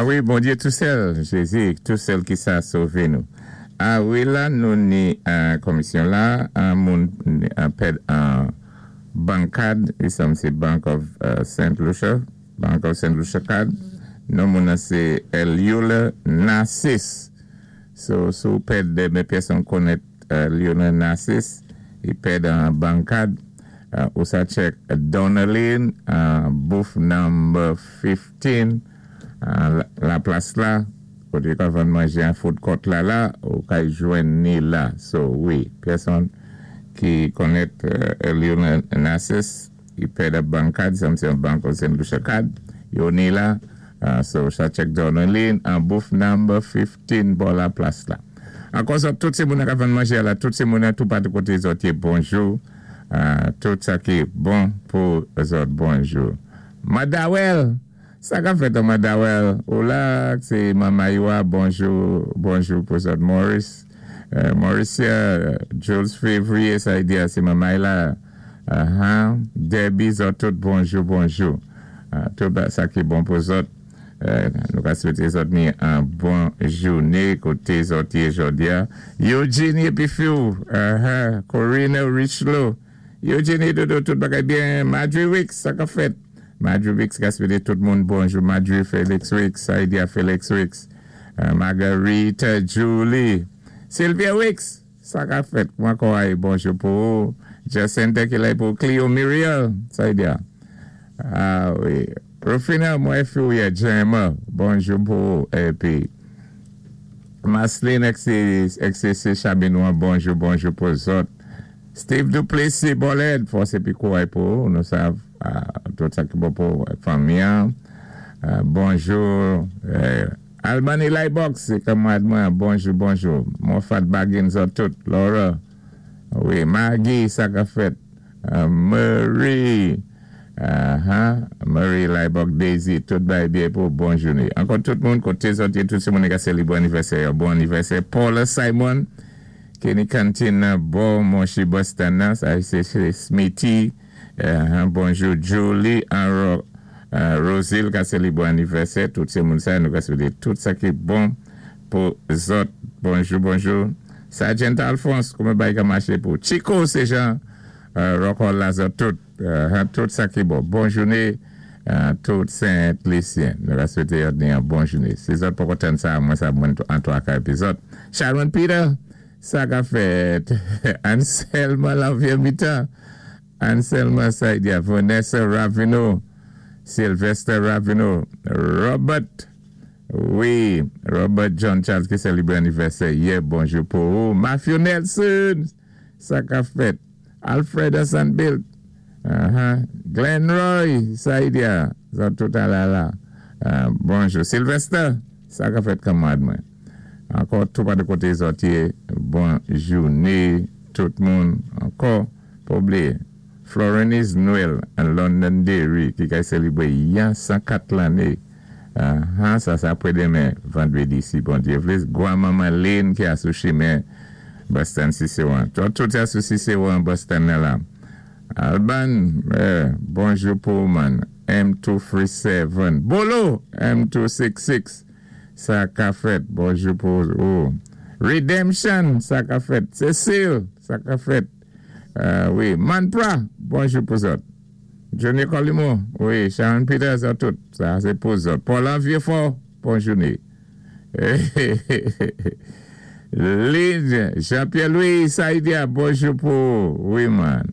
A wi, Bondyé tou sèl, Jézi tou sèl ki sa sové nou. A wi la nou ni komisyon la, an moun pèd an bank card, li sanm sé Bank of Saint Lucia, Bank of Saint Lucia card, non moun nan sé Eliula Narcisse. So si w pèd men pèsonn konnèt Lionel Narcisse, li pèd an bank card, ou sa check Donalyn, booth number 15. La plas la koté yo ka vann manjé an food court la la ou kay jwenn ni la so wi pèsonn ki konnèt Lionel Narcisse li pèd ap bann kad sa m se yon bank of Saint Lucia kad yo ni la so sa check Donalyn an booth number 15 bò la plas la ankò zòt tout se moun nan ka vann manjé a la tout se moun nan tou patou koté zòt yé bonjou tout sa ki bon pou zòt bonjou Madawèl Sa kap fèt an Madawèl ou la ak se Mamayiwa bonjou bonjou pou zòt Maurice Mauricia Jules Février sa li di a se Mamay la ahaa Debbie zòt tout bonjou bonjou tout sa ki bon pou zòt nou ka swete zòt ni an bon joune kote zòt ye jòdia Eugenie epi fiw ahaa Corina Richelieu Eugenie Dodo tout bagay byen Marjorie Wicks sa kap fèt Marjorie Wicks ka swete tout moun bonjou Marjorie Felix Wicks Saidia Felix Wicks Marguerite Julie Sylvia Wicks sa kap fèt kman kò a ye bonjou pou ou Jacinta kilè pou Clio Muriel Saidia ah wi Rufina mwen fi ou ye Gemma bonjou pou ou epi Marceline XCC Chabinois bonjou bonjou pou zòt. Steve Duplessis Bolèd fòs épi kouray pou ou nou sav tout sa ki bon pou fanmi an bonjou Albany Laybox se kanmarad mwen bonjou bonjou Moffat Baggins zòt tout Laura wi Maggie sa kap fèt Murray Murray Laybox Daisy tout bagay byen pou ou bon joune ankò tout moun kote zòt ye tout se moun ki ka selebre anivèsè yo bon anivèsè Paula Simon Kenny Kantin nan bò Monchi Boston nan sa se Smitty bonjou Julie an Rosil ka selebre anivèsè tout se moun sa nou ka swete tout sa ki bon pou zòt bonjou bonjou Sergeant Alphonse kouman bagay ka mache pou Chico se jan Rock Hall la zòt tout tout sa ki bon bon joune tout Sent Lisyen nou ka swete yòt ni yon bon joune si zòt poko tann sa mwen sa mwen an twaka epi zòt Sharon Peter sa ka fèt Anselma Lanvie mitan Anselma Saidia Vanessa Raveneau Sylvester Raveneau Robert wi Robert John Charles ki selebre anivèsè yè bonjou pou ou Matthew Nelson sa ka fèt Alfred Asanbilt Ahaa Glenn Roy Saidia zòt tout alala Bonjou Sylvester sa ka fèt kanmarad mwen ankò tou pa de kote zòt ye bon joune tout moun ankò pa bliye Florenise Noel an London Derry ki kay selebre yan 104 lanne Ahaa sa se apre demen vandredi si Bondye vle gwa manman Lynn ki a sou chimen Boston Ciceron to tout a sou Ciceron Boston nan la Alban eh bonjou pou ou man M 2 3 7 Bolo M 2 6 6 sa ka fèt bonjou pou ou Redemption sa ka fèt Cecile sa ka fèt wi Manpra bonjou pou zòt. Johnny Colimo wi Sharon Peters an tout sa se pou zòt Paul-An Vieux-Fort bon joune Lynn Jean Pierre Louis Saidia bonjou pou ou wi man.